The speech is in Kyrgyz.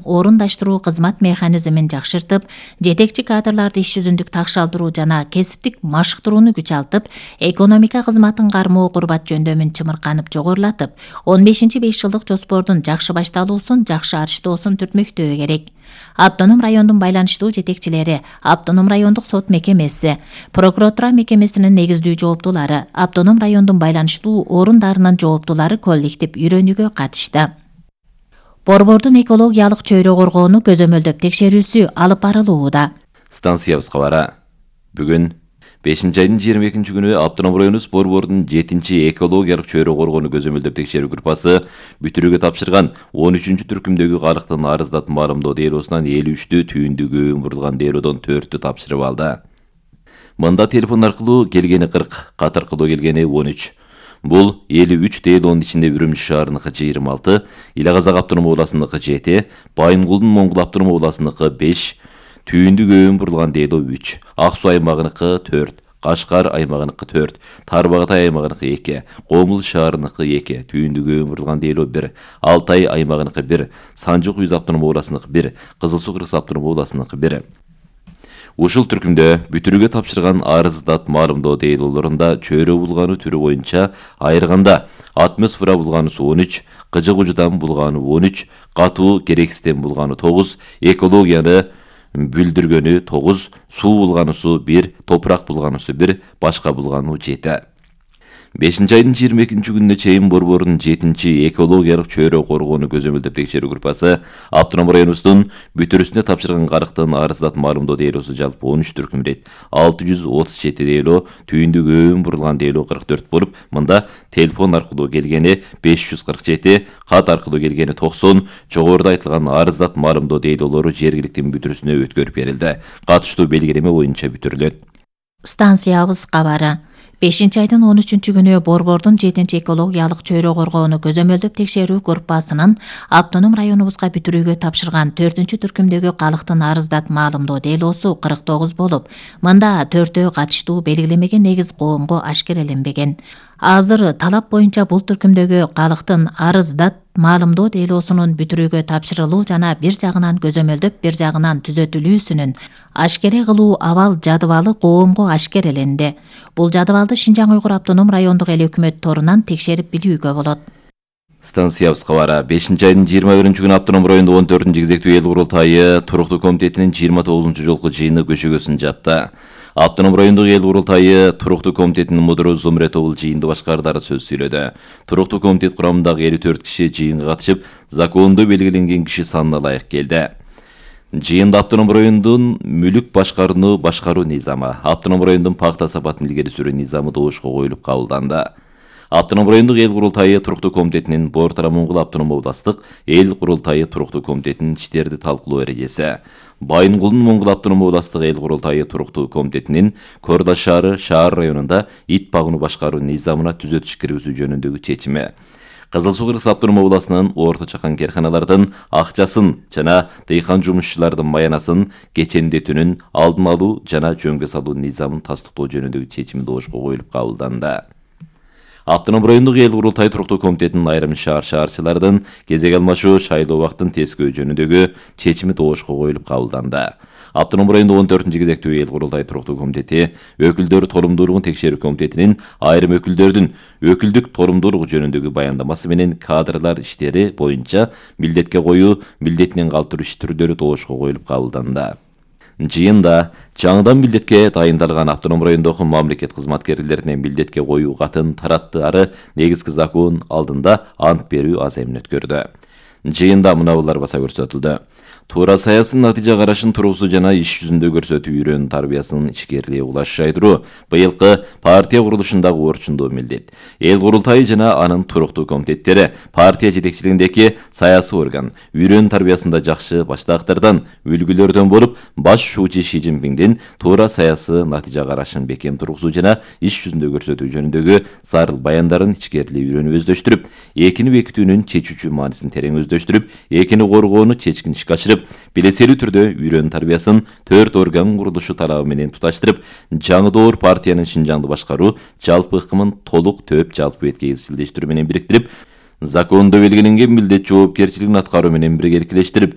орундаштыруу кызмат механизмин жакшыртып, жетекчи кадрларды иш жүзүндүк такшалдыруу жана кесиптик машыктырууну күчалтып, экономика кызматын кармоо курбат жөндөмүн чымырканып жогорулатып, 15-5 жылдык жоспордун жакшы башталуусун, жакшы арчтоосун түртмөктөө керек. Автоном райондун байланыштуу жетекчилери, автоном райондук сот мекемеси, прокуратура мекемесинин негиздүү жооптулары, автоном райондун байланыштуу орундарынын жооптулары коллектив үйрөнүүгө катышты. Борбордун экологиялык чөйрө коргоону көзөмөлдөп текшерүүсү алып барылууда. Станциябыз кабары. Бүгүн 5-айдын 22-күнү автоном району Борбордун 7-чи экологиялык чөйрө коргоону көзөмөлдөп текшерүү группасы бүтүрүүгө тапшырган 13-түркүмдөгү калктын арыздат маалымдоо делосунан 53-тү түйүндүгү бурулган делодон 4-тү тапшырып алды. Мында телефон аркылуу келгени 40, кат аркылуу келгени 13. Бул 53 делонун ичинде Үрүмчү шаарыныкы 26, Ил Казак автоном областыныкы 7, Байынгулдун Моңгул автоном областыныкы 5, Түйүндүк өйүн бурулган дело 3, Ак Суу аймагыныкы 4, Кашкар аймагыныкы 4, Тарбагатай аймагыныкы 2, Комул шаарыныкы 2, Түйүндүк өйүн бурулган дело 1, Алтай аймагыныкы 1, Санжык Уюз автоном областыныкы 1, Кызыл Суу Кыргыз автоном областыныкы 1. Ушул түркүмдө бүтүрүүгө тапшырган арыздат маалымдоо делолорунда чөйрө булгану түрү боюнча айырганда атмосфера булганысы 13, кыжык ужудан булгану 13, катуу керексизден булгану 9, экологияны бүлдүргөнү 9, суу булганысы 1, топурак булганысы 1, башка булгану 7. 5-айдын 22-күнүнө чейин Борбордун 7-чи экологиялык чөйрө коргоону көзөмөлдөп текшерүү группасы автоном районубуздун бүтүрүүсүнө тапшырган карыктын арыздат маалымдоо делосу жалпы 13 түркүмдейт. 637 дело, түйүндүк өйүн бурулган дело 44 болуп, мында телефон аркылуу келгени 547, кат аркылуу келгени 90, жогоруда айтылган арыздат маалымдоо делолору жергиликтин бүтүрүүсүнө өткөрүп берилди. Катыштуу белгилеме боюнча бүтүрүлөт. Станциябыз кабары. 5-айдын 13-күнү Борбордун 7-чи экологиялык чөйрө коргоону көзөмөлдөп текшерүү группасынын автоном районубузга бүтүрүүгө тапшырган 4-чү түркүмдөгү калктын арыздат маалымдоо делосу 49 болуп, мында 4-өө катыштуу белгилемеге негиз коомго ашкереленбеген. Азыр талап боюнча бул түркүмдөгү калктын арыздат маалымдоо делосунун бүтүрүүгө тапшырылуу жана бир жагынан көзөмөлдөп, бир жагынан түзөтүлүүсүнүн ашкере кылуу абал жадыбалы коомго ашкереленди. Бул жадыбалды Шинжаң Уйгур автоном райондук эл өкмөт торунан текшерип билүүгө болот. Станциябыз кабары. 5-айдын 21-күнү автоном райондо 14-чү кезектүү эл курултайы туруктуу комитетинин 29-чу жолку жыйыны көчөгөсүн жапты. Автоном райондук эл курултайы туруктуу комитетинин мудуру Зумретовул жыйынды башкардары сөз сүйлөдү. Туруктуу комитет курамындагы 54 киши жыйынга катышып, закондо белгиленген киши санына ылайык келди. Жыйында автоном райондун мүлүк башкаруу низамы, автоном райондун пакта сапатын илгери сүрүү низамы добушка коюлуп кабылданды. Автоном райондук эл курултайы туруктуу комитетинин Бор-Тара Моңгул автоном областтык эл курултайы туруктуу комитетинин иштерди талкуулоо эрежеси, Байынгулдун Моңгул автоном областтык эл курултайы туруктуу комитетинин Кордаш шаар районунда ит багууну башкаруу низамына түзөтүш киргизүү жөнүндөгү чечими, Кызыл Суу Кыргыз автоном областынын орто чакан керканалардын акчасын жана дыйкан жумушчулардын маянасын кечендетүүнүн алдын алуу жана жөнгө салуу низамын тастыктоо жөнүндөгү чечими добушка коюлуп кабылданды. Автоном райондук эл курултайы туруктуу комитетинин айрым шаарчылардын кезек алмашуу шайлоо убактын тескөө жөнүндөгү чечими добушка коюлуп кабылданды. Автоном райондо 14-чү кезектүү эл курултайы туруктуу комитети өкүлдөр торомдуулугун текшерүү комитетинин айрым өкүлдөрдүн өкүлдүк торомдуулугу жөнүндөгү баяндамасы менен кадрлар иштери боюнча милдетке коюу, милдетинен калтыруу иш түрдөрү добушка коюлуп кабылданды. Жыйында жаңыдан милдетке дайындалган автоном райондогу мамлекет кызматкерлерине милдетке коюу катын тараттаары негизги закон алдында ант берүү аземин өткөрдү. Жыйында мынабулар баса көрсөтүлдү. Туура саясий натыйжа карашын туругусу жана иш жүзүндө көрсөтүү үйрөнүү тарбиясынын ишкерлиги улаш жайдыруу быйылкы партия курулушундагы орчундуу милдет. Эл курултайы жана анын туруктуу комитеттери партия жетекчилигиндеги саясий орган үйрөнүү тарбиясында жакшы баштаактардан, үлгүлөрдөн болуп, баш шуучу Ши Цзиньпиндин туура саясий натыйжа карашын бекем тургузуу жана иш жүзүндө көрсөтүү жөнүндөгү зарыл баяндарын ичкерилүү үйрөнүп өздөштүрүп, экини бекитүүнүн чечүүчү маанисин терең өздөштүрүп, экини коргоону чечкин ишке ашырып, билеселүү түрдө үйрөнүү тарбиясын 4 орган курулушу талабы менен туташтырып, жаңы доор партиянын Шинжаңды башкаруу жалпы ыкмын толук төп жалпы бетке изчилдештирүү менен бириктирип, закондо белгиленген милдет жоопкерчилигин аткаруу менен биргеликтештирип,